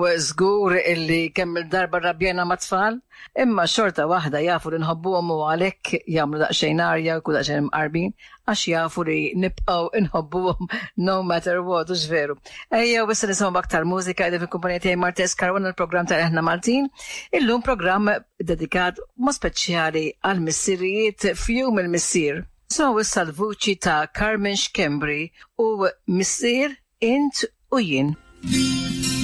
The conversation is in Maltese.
U żgur illi kemm il-darba rrabjajna mat-tfal, imma xorta waħda jafu li nħobbuhom u għalhekk jagħmlu daqsxejn arja u jkunu daqsxejn imqarbin għax jafu li nibqgħu nħobbuhom no matter what, hux veru. Ejjew issa nisimgħu aktar mużika qegħdin fil-kumpanija tiegħi Martes Caruana l-programm ta' Eħna Maltin. Illum programm dedikat mod speċjali għall-missirijiet f'Jum il-Missier. Nisimgħu issa l-vuċi ta' Carmen Schembri u Missier Int u Jien.